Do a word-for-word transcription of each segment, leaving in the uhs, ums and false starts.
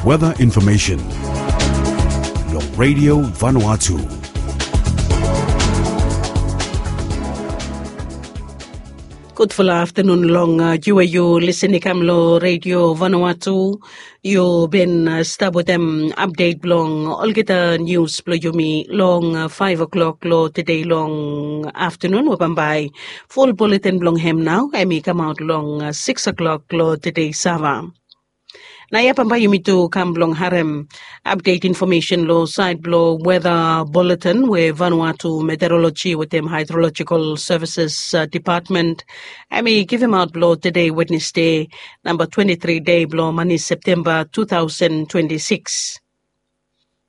Weather information long Radio Vanuatu. Gudfala aftanun long yu we yu lisin i kam long Radio Vanuatu. Yu bin stap wetem apdet blong olgeta nius blong yumi long faef o'klok long tede long aftanun we bambae ful buletin blong hem nao em i kamaot long siks o'klok long tede sava. Na ya bambae yumi tu kam blong harem apdet infomesen long saed blong weta buletin we Vanuatu Meteoroloji wetem Haedrolojikal Sevises Depatmen em i givimaot blong tede Wednesde, namba twenti tri dei blong mani Septemba tu taosen twenti siks.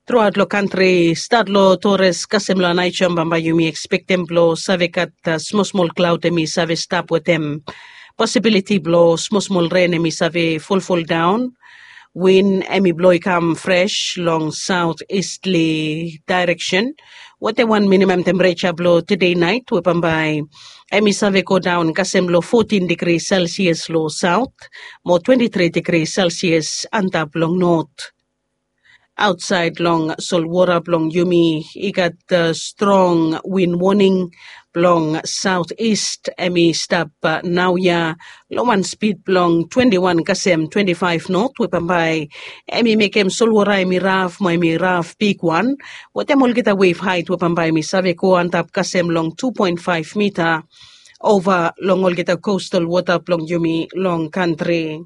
Truaot long kantri stat long Tores kasem long Anaisom bambae yumi ekspektem blong save gat smosmol klaod em i save stap wetem posibiliti blong smosmol ren em i save fulful daon. Win em i blo i kam fres long saot istli daereksen wetem wan minimam tempereja blong tede naet we bambae em i save godaon kasem long fotin digri selsias long saot mo twenti tri digri selsias antap long not. Aotsaed long solwora blong yumi i gat strong win woning blong saot ist em i stap naoia long wan spid blong twenti wan kasem twenti faef not we bambae em i mekem solwora em i raf mo em i raf bigwan wetem olgeta wef haet we bambae em i save go antap kasem long tu poen faef mita ova long olgeta kostal wota blong yumi long kantri.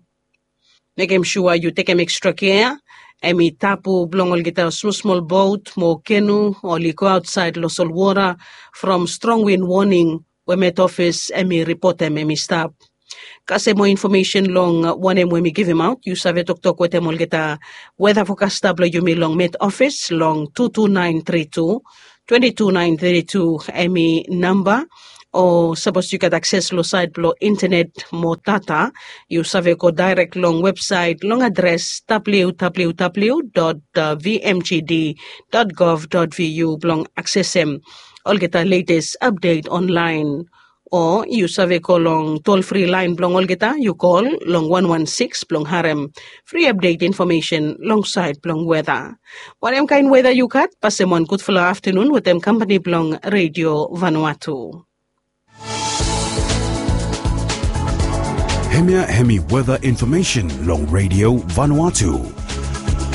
Mekem sua yu tekem ekstra kea. Em i tapu blong olgeta smosmol bot mo kenu oli go aotsaed long solwora from strong win woning we met ofis em i ripotem em i stap. Kasem moa infomesen long wanem we mi givimaot yu save toktok wetem olgeta weta fokasta blong yumi long met ofis long tu tu naen tri tu twenti tu naen tri tu em i namba. O sapos yu gat akses long saet blong intenet mo data yu save go daerek long websaet long adres www vmgd gov vu blong aksesem olgeta letes apdet onlaen. O yu save go long tolfri laen blong olgeta yu kol long wan wan siks blong harem fri apdet infomesen long saet blong weta. Wanem kaen weta yu gat pasem wan gudfala aftanun wetem kampani blong redio Vanuatu. Hemia hemi weta infomesen long redio Vanuatu.